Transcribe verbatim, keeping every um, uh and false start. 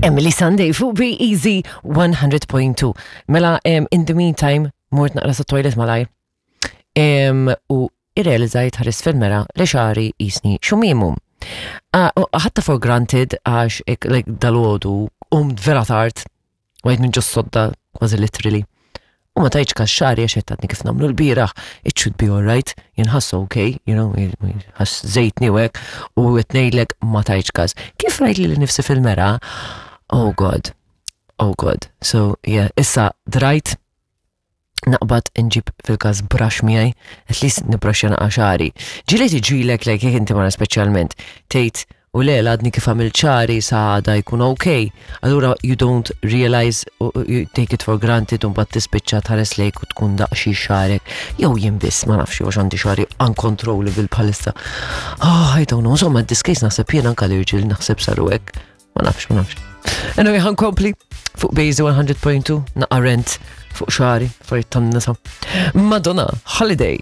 Emeli Sandé fuq Be Easy one hundred point two. Mela, um, in the meantime, mort naqra sa toilet malajr. Um, u irrealizzajt ħarist fil-mera li xagħri jisni xumimu. Ħadtha for granted għax ik, like, dalgħodu, qomt vera tard, għajt minn ġos-sodda, kważi literally. U ma tajtx kas xagħri għax għadni kif nagħmlu lbieraħ, it should be alright, jinħass okay, you know, ħass żejtni u hekk, u ngħidlek ma tajtx kas. Kif rajt lili nnifsi fil-mera? Oh God, oh God. So, yeah, issa drajt naqbad nġib fil-kas brush miegħi, at least nibrushja naqa xagħri. Ġieli tiġrilek, like, jekk inti mara speċjalment, tgħid u le għadni kif għamilt xagħri, sa għada jkun okay. Allura you don't realize, you take it for granted, u mbagħad tispiċċa tħares lejk u tkun daqxi xagħrek. Jew jien biss, ma nafx, għax għandi xagħri uncontrollable bħalissa. Oh, I don't know, insomma, this case naħseb jien anka l-irġiel naħseb saru hekk. Ma nafx, ma nafx. Anyway, ħa nkompli fuq Bejzi one hundred point two, naqa rent fuq xagħri, affarijiet tan-nisa. Madonna, Holiday.